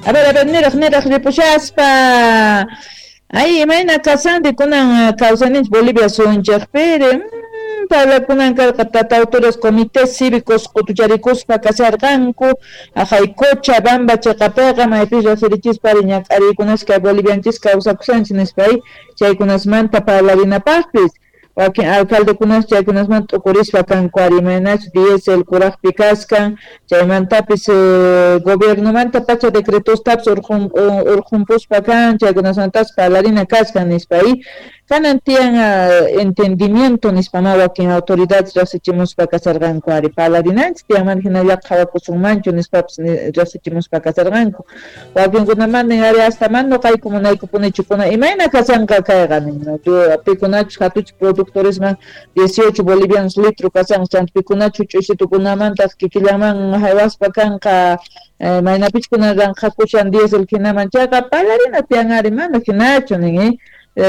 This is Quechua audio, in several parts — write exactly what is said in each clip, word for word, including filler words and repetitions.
A ver, a ver, niraq niraq ripushaspa. Ay, imayna kasandi kunan kawsaninchik Bolivia suyunchikpiri. Parlakunan karqa tata autores comités cívicos qutucharikuspa kasharqanku aqhay Cochabamba chiqapiqa maypis riqsirichispa ñak'ariykunas kay bolivianchis kawsakushanchik nispa chaykunasmanta parlarinapaqpis wakin alcaldekunas chaykunasmanta t'ukurispa kanku ari imaynachu diésel kuraqpi kaskan chaymantapis gobiernomanta pacha decretostapis urqun urqunpuspa kan chaykunasmantapas parlarina kaskan nispa kanan tiyan entendimiento nispa ma wakin autoridades riqsichimuspa kasarqanku ari parlarinanchik tiyan mana hinalla qhawakusunmanchu nispapis riqsichimuspa kasarqanku wakinkunamanta ari hasta mana nuqayku munaykupunichu kuna imayna kasanqa kayqa nin pikunachus hatuchik productoresman dieciocho bolivianos litro kasanqa chanta pikunachu ch'usitukunamantaq kikillanman haywaspa kanqa maynapich kunan ranqhakushan diésel hinaman chayqa parlarina tiyan ari mana hinachu nin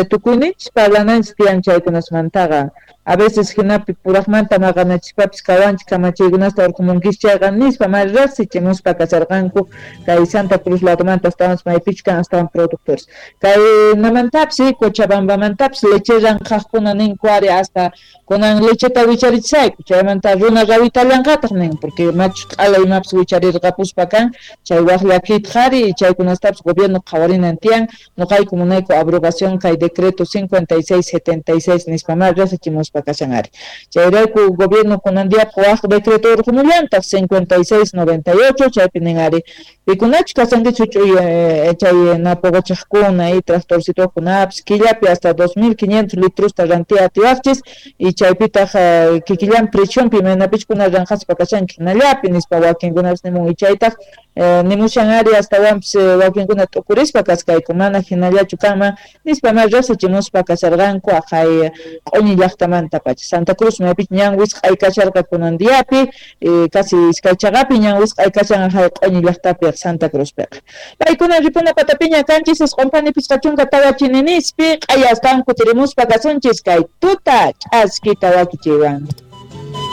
tukuyninchis parlananchis tiyan chaykunasmantaqa a veces hinapi puraqmanta maqanachispapis kawanchik kamachiykunasta urqumunkis chayqa nispa ma riqsichimuspa kasarqanku kay Santa Cruz ladomanta astawanpas maypichu kan astawan productores kaynamantapis Cochabambamantapis leche ranqhaqkuna ninku ari hasta kunan lecheta wicharichisayku chaymanta runa rawitallanqataq nin porque machu q'ala imapis wicharirqapuspa kan chay waq llakiytaq ari chaykunastapis gobierno qhawarinan tiyan nuqayku munayku abrogación kay decreto cincuenta y seis setenta y seis nispa ma riqsichimuspa kashan ari chayrayku gobierno kunan diyapaq waq decreto urqumullantaq cincuenta y seis noventa y ocho chaypi nin ari pikunachu kasankichik huch'uy chay napoqochaqkuna y tractorcitokunapis killapi hasta dos mil quinientos litrusta rantiya atiwaqchis y chaypitaq kikillan prechunpi imaynapich kuna ranqhaspa kashanki hinallapi nispa wakinkunapis nimun y chaytaq nimushan ari astawanpis wakinkuna t'ukurispa kaskayku mana hinallachu kanman nispa ma riqsichimuspa kasharqanku aqhay q'uñi llaqtamanta pacha Santa Cruz maypich ñan wisq'ay kasharqa kunan diapi casi iskay chaqapi ñan wisq'ay kashan aqhay q'uñi llaqtapi Santa Cruzpiqa paykuna ripuna patapiña kanchis isqunpani pichqa chunka tawa chininispi q'aya astawan kutirimuspa kasunchis kay tuta ch'askita wakichiywan.